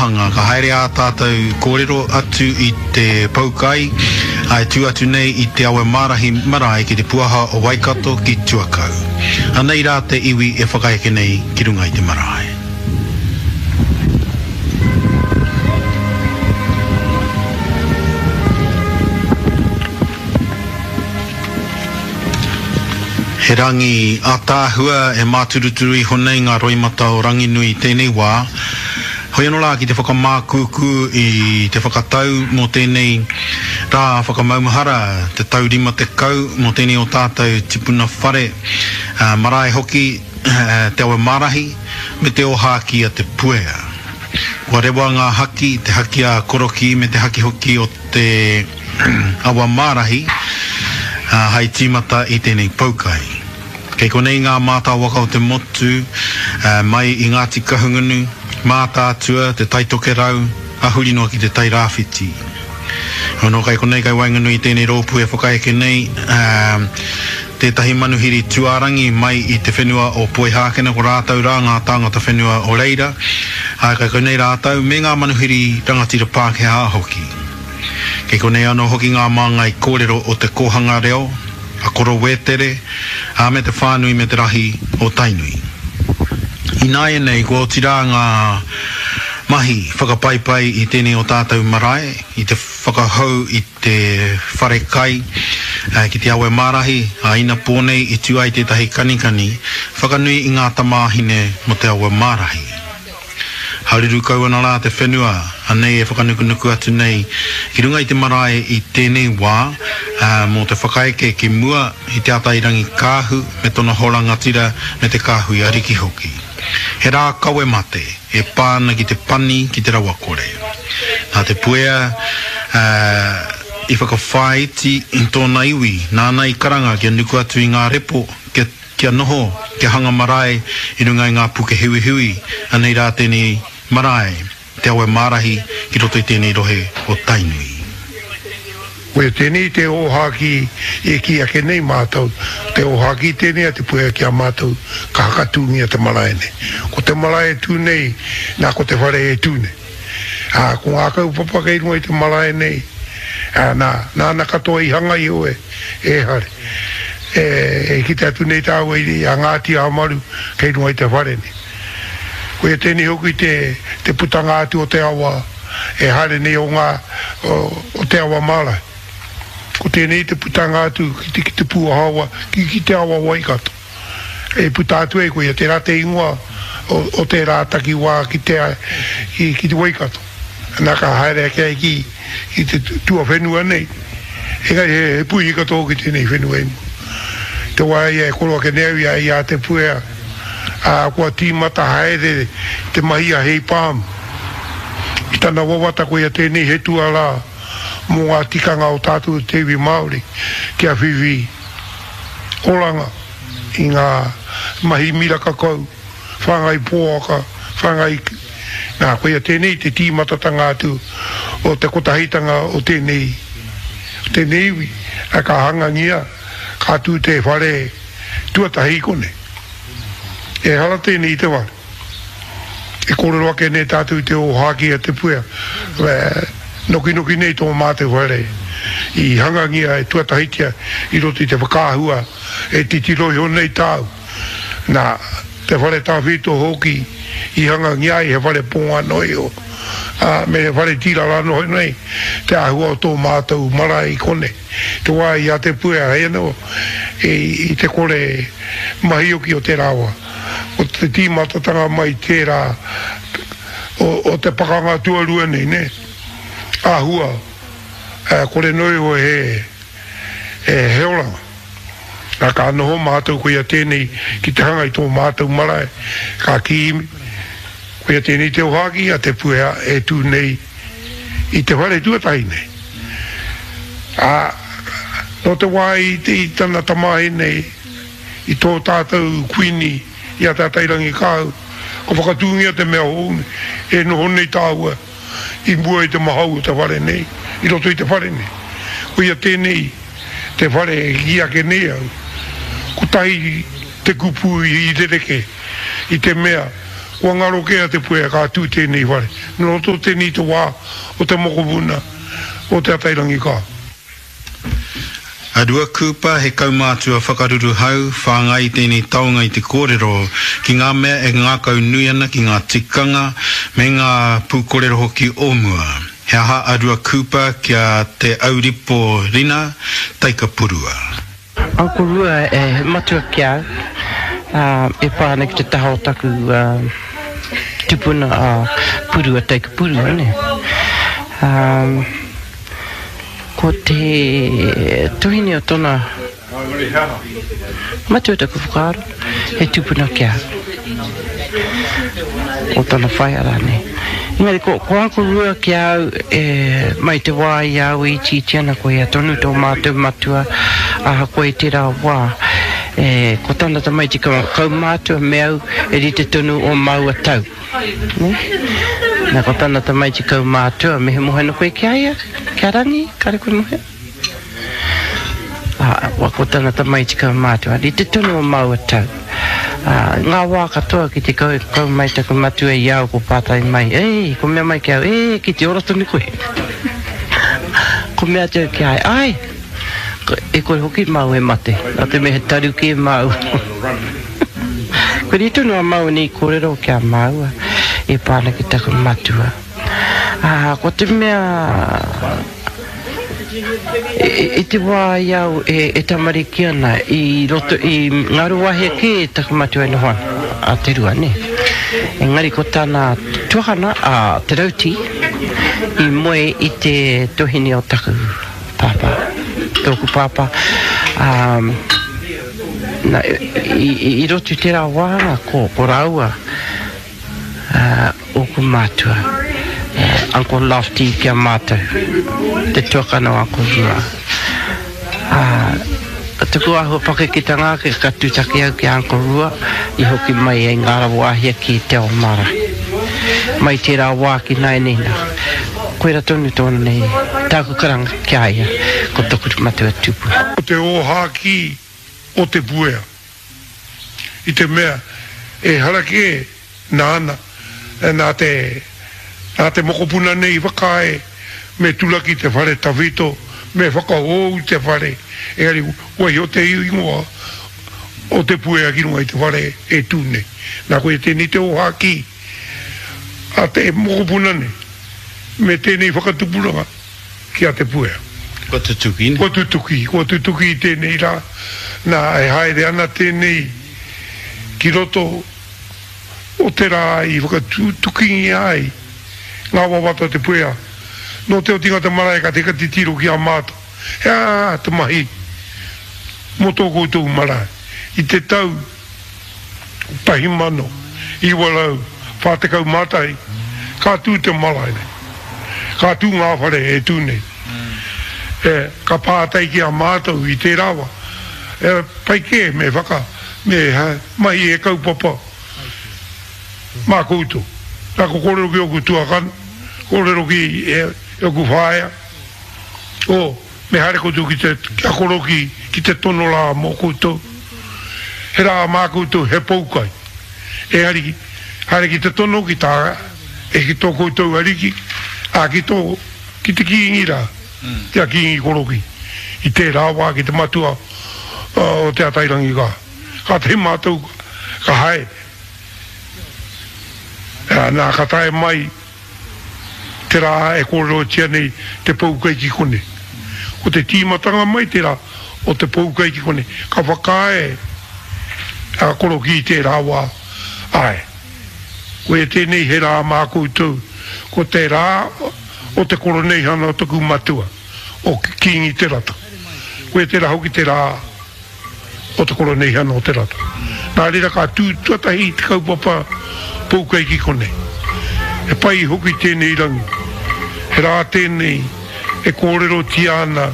wāhanga ka haere ā tātou kōrero atu i te poukai, ā, e tū atu nei i Te Awe Mārahi marae ki te puaha o Waikato ki Tuakau. Anei rā te iwi e whakaeke nei ki runga i te marae. He rangi ātaahua e māturuturu iho nei ngā roimata o Ranginui i tēnei wā. Hoi anō rā ki te whakamākūkū i te whakatau mō tēnei rā whakamaumahara, te tau 50 mō tēnei o tātou tipuna whare, marae hoki, Te Awe Mārahi me te ōhākī a Te Puea. Kua rewa ngā haki, te haki a Korokī me te haki hoki o te Awa Mārahi, hai tīmata i tēnei poukai. Kei konei ngā mātāwaka o te motu, mai i Ngāti Kahungunu, Mātaatua, Te Tai Tokerau, a huri noa ki Te Tai Rāwhiti. Anō kai konei kai waenganui i tēnei rōpū e whakaeke nei tētahi manuhiri tuārangi mai i te whenua o Poihākena ko rātou rā ngā tāngata whenua o reira, ā, kai konei rātou me ngā manuhiri rangatira Pākehā hoki. Kei konei anō hoki ngā māngai kōrero o te kōhanga reo, a Koro Wētere, ā, me te whānui me te rahi o Tainui. Ināianei kua oti rā ngā mahi whakapaipai i tēnei o tātou marae, i te whakahou i te whare kai ki Te Awe Mārahi, ā, inapō nei i tū ai tētahi kanikani whakanui i ngā tamāhine mō Te Awe Mārahi. Haruru kau ana rā te whenua, anei e whakanukunuku atu nei ki runga i te marae i tēnei wā, ā, mō te whakaeke ki mua i Te Atairangikaahu me tona hoa rangatira me te kāhui ariki hoki. He rā kawe mate e pā ana ki te pani ki te rawakore. Nā Te Puea, ā, i whakawhāiti tōna iwi, nāna i karanga kia nuku atu i ngā repo, kia. Kia noho, kia hanga marae i runga i ngā puke hiwihiwi, anei rā tēnei marae, Te Awe Mārahi ki roto i tēnei rohe o Tainui. Koia tēnei te ōhākī e kī ake nei mātou, te ōhākī tēnei a Te Puea ki a mātou ka hakatūngia te marae nei. Ko te marae e tū nei, nā ko te whare e tū nei. Ā, ko ngā kaupapa kei runga i te marae nei, ā, nā, nāna katoa i hanga iho e, e Hare. E kite atu nei tāua i a Ngāti Amaru kei runga i te whare nei. Koia tēnei hoki te, te putanga atu o te awa e haere nei o ngā, o, o te awa marae. Ko tēnei te putanga atu ki te, ki te pūahawa, ki, ki te awa Waikato. E puta atu ai koia, tērā te ingoa o, o tērā takiwā ki te, ki, ki te Waikato. Nā ka haere ake ai ki, ki te tuawhenua nei. Engari he, he puihi katoa hoki tēnei whenua i mua. Te wā ia e koro ake nei au i a, i a Te Puea, ā, kua tīmata haere te mahi a Hei Pāmu. I tana wawata koia tēnei he tuarā mō ngā tikanga o tātou te iwi Māori kia whiwhi oranga i ngā mahi miraka kau, whāngai poaka, whāngai, nā, koia tēnei te tīmatatanga atu o te kotahitanga o tēnei, o tēnei iwi, ā, ka hangangia, ka tū te whare tuatahi i konei. Ehara tēnei i te whare. E kōrero ake nei tātou i te ōhākī a Te Puea, nokinoki nei tō mātou whare i hangangia e tuatahitia i roto i te whakaahua e titiro iho nei tāu. Nā, te whare tawhito hoki i hangangia ai he whare pōnga noa iho, ā, me he whare tīrara noa nei te āhua o tō mātou marae i konei. Te wā i a Te Puea hei anō i te kore mahi hoki o tērā wā. Ko te tīmatatanga mai tērā o te pakanga tuarua nei, nē? Āhua, kore noa iho he, he oranga. Nā, ka noho mātou koia tēnei ki te hanga i tō mātou marae, ka kī, koia tēnei te ōhākī a Te Puea e tū nei i te whare tuatahi nei. Ā, nō te wā i tana tamāhine I tō tātou Kuini, i a Te Atairangikaahu, ka whakatūngia te mea hou nei, e noho nei tāua i mua i te mahau o te whare nei, i roto i te whare nei. Koia tēnei te whare e kī ake nei au, kotahi te kupu i rerekē, i te mea. Kua ngaro kē a Te Puea ka tū tēnei whare. Nō roto tēnei te wā o te mokopuna o Te Atairangikaahu. A Rua Cooper, he kaumātua whakaruruhau, whāngai i tēnei taonga i te kōrero ki ngā mea e ngākau nui ana ki ngā tikanga me ngā pūkorero hoki o mua. He aha a Rua Cooper ki a Te Auripo Rina, Taikapurua? Uncle Rua he matua ki a au, ā, e pā ana ki te taha o taku tupuna a Purua Taikapurua, nē. Ā. Ko te tuhine o tona matua taku whakaaro, he tupuna ki ahau. O tana whaea rānei. Engari ko, ko Uncle Rua ki a au, e, mai te wā i a au e itiiti ana, ko ia tonu tō mātou matua, ahakoa i tērā wā, e, ko tana tamaiti kaumātua me au, e rite tonu ō māua tau. Nē? Nā, ko tana tamaiti kaumātua, me he moe ana koe ki a ia, ki a Rangi, kāre koe moe? Ā, ko tana tamaiti kaumātua, rite tonu o māua tau. Ā, ngā wā katoa ki te kau, kau mai taku matua i a au, ko pātai mai, e, ko mea mai ki a au, e, ki te ora tonu koe. Ko mea atu au ki a ia, āe, e kore hoki māua e mate, nā te mea he taru kē māua. Kua rite tonu a māua nei kōrero ki a māua e pā ana ki taku matua. Ā, ko te mea, i te wā i au e tamariki ana, i roto, i Ngaruawahia kē taku matua e noho ana, a Te Rua, nē. Engari ko tana tuakana, a Te Rauti, i moe i te tuahine o taku pāpā, tōku pāpā, ā, Na, i, i roto i tērā wāhanga, ko, ko rāua uh, ōku mātua, uh, Uncle Lofty ki a mātou, te tuakana o Uncle Rua. Uh, taku āhua pakeketanga ake ka tūtaki au ki a Uncle Rua i hoki mai ai ngā rawāhia ki Te Ao Marae. Mai tērā wā ki nāianei nā, koira tonu tōna nei tāku karanga ki a ia, ko toku matua tupuna. Ko te ōhākī o Te Puea, i te mea ehara kē nāna, nā te, nā te mokopuna nei i whakaae me turaki te whare tawhito, me whakahōu te whare, engari waiho te ingoa o Te Puea ki runga i te whare e tū nei. Nā koia tēnei te ōhākī a te mokopuna nei me tēnei whakatupuranga. ki a Te Puea. Kua tutuki, ne? Kua tutuki, kua tutuki i tēnei rā, nā, e haere ana tēnei ki roto o te rā i whakatutukingia ai ngā wawata o Te Puea. Nō te otinga o te marae ka teka titiro ki a mātou, he aha te mahi mō tō koutou marae i te tau 1941, ka tū te marae nei. Ka tū ngā whare e tū nei. E, ka pātai ki a mātou i tērā wā, e, pai kē me whaka, me mahi he kaupapa mā koutou. Nā, ko kōrero ki ōku tuakana, kōrero ki ōku whaea, oh, Me haere koutou ki te, ki a Koroki, ki te tono rā mō koutou. He rā mā koutou, he poukai. Engari, haere ki te tono ki tā, e ki tō koutou ariki, ā, ki tō, ki te Kīngi rā, ki a Kīngi Koroki, i tērā wā ki te matua o Te Atairangikaahu. Kātahi mātou ka haere. Ā, nā, ka tae mai. Te rā e kōrerotia nei te poukai ki konei. Ko te tīmatanga mai tērā o te poukai ki konei. Ka whakaae a Korokī i tērā wā, āe, koia tēnei he rā mā koutou, ko te rā o te koroneihana o taku matua, o Kīngi Te Rata. Koia tērā hoki te rā. o te Koroneihana o Te Rata. Nā reira ka tū tuatahi te kaupapa poukai ki konei. He pai hoki tēnei rangi. He rā tēnei e kōrerotia ana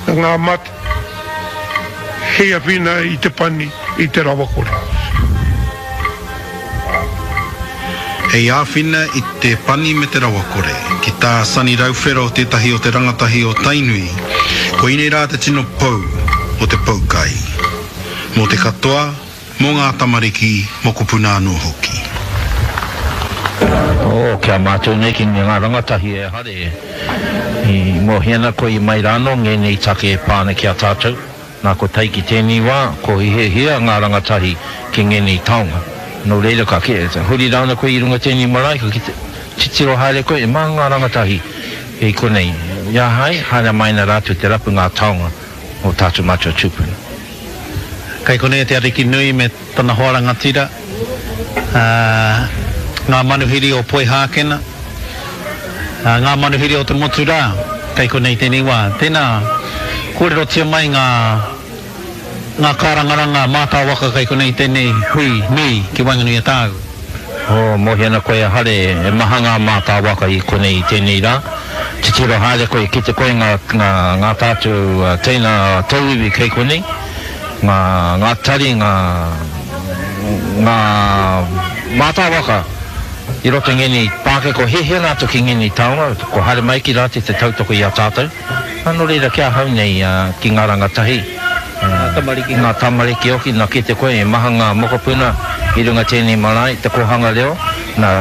ngā mate hei awhina i te pani i te rawakore. Hei āwhina i te pani me te rawakore. Ki tā Sonny Rauwhero tētahi o te rangatahi o Tainui, koinei rā te tino pou o te poukai. Mō te katoa, mō ngā tamariki, mokopuna anō hoki. Oh, ki a mātou nei ki ngā rangatahi e hare i mōhio ana koe i mai rānō ngēnei take e pā ana ki a tātou. Nā ko tae ki tēnei wā, ko hiahia ngā rangatahi ki ngēnei taonga. Nō reira ka huri rāna koe i runga tēnei marae, ka kite, titiro haere koe, e mā ngā rangatahi i konei. I a hae, haere mai ana rātou te rapu ngā taonga o tātou mātua tūpuna. Kei konei te Ariki nui me tana hoa rangatira, ā, ngā manuhiri o Poihākena, ā, ngā manuhiri o te motu rā, kei konei tēnei wā. Tēnā, kōrerotia mai ngā, ngā kārangaranga mātāwaka kei konei tēnei hui nui ki waenganui a tāu. Oh, mōhio ana koe a Hare, e maha ngā mātāwaka i konei i tēnei rā. Titiro haere koe, kite koe ngā, ngā, ngā tātou teina tauiwi kei konei, ngā, ngā tari, ngā, ngā mātāwaka i roto i ngēnei pākeke, hiahia rātou ki ngēnei taonga, kua haere mai ki rātou te tautoko i a tātou. Nō reira, ki ahau nei, ki ngā rangatahi, ngā tamariki, ngā tamariki hoki, nā kite koe, e maha ngā mokopuna i runga tēnei marae, te kōhanga reo, nā,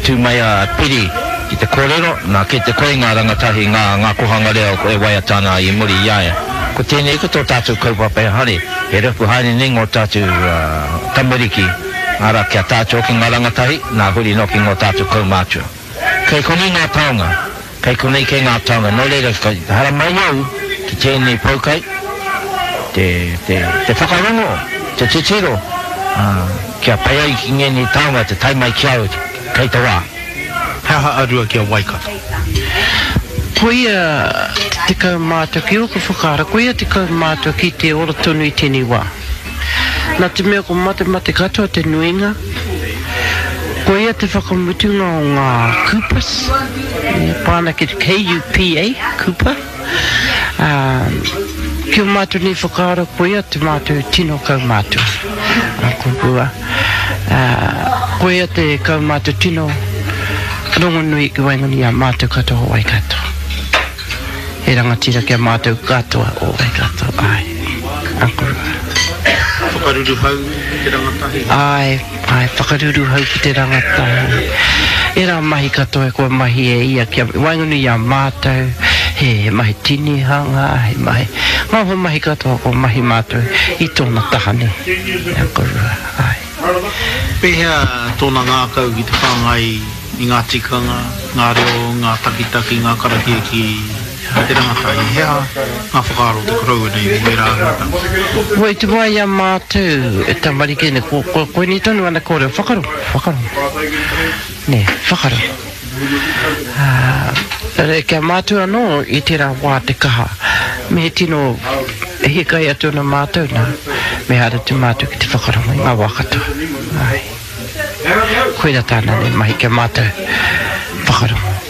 tū mai a Piri ki te kōrero, nā kite koe ngā rangatahi, ngā, ngā kōhanga reo e waiata ana i muri i a ia. Ko tēnei ko tō tātou kaupapa e haere, e rapu haere nei ngō tātou tamariki, arā, ki a tātou hoki ngā rangatahi, nā, huri noa ki ngō tātou kaumātua. Kei konei ngā taonga. Kei konei kei ngā taonga. Nō reira, ka haramai au ki tēnei poukai, te, te, te whakarongo, te titiro, ā, kia pai ai ki ngēnei taonga te tae mai ki a au kei te wā. He aha a Rua ki a Waikato? Koia te kaumātua ki ōku whakaaro, koia te kaumātua ki te ora tonu i tēnei wā. Nā te mea ko matemate katoa te nuinga, koia te whakamutunga o ngā Kupas, e pā ana ki te KUPA, Kupa, ā, ki ō mātou nei whakaaro koia te mātou tino kaumātua, a Kopua, ā, koia te kaumātua tino rongonui ki waenganui i a mātou katoa o Waikato. He rangatira ki a mātou katoa o Waikato, āe. Uncle Rua. Whakaruruhau ki te rangatahi. Āe, āe, whakaruruhau ki te rangatahi. Ērā mahi katoa kua mahi e ia kia waenganui i a mātou, he mahi tinihanga, he mahi, ngā hoa mahi katoa kua mahi mātou i tōna taha nei, Uncle Rua, āe. Pēhea tōna ngākau ki te whāngai i ngā tikanga, ngā reo, ngā takitaki, ngā karakia ki te rangatahi? He aha ngā whakaaro o te koroua nei mō ērā āhuatanga? Kua i te wā i a mātou e tamariki nei, ko koinei tonu ana kōrero, whakarongo, whakarongo, nē, whakarongo. Ā, kia mātou anō i tērā wā te kaha, me he tino hiakai atu ana mātou nā, me haere atu mātou ki te whakarongo i ngā wā katoa. Āe. Koirā tāna nei mahi ki a mātou, whakarongo.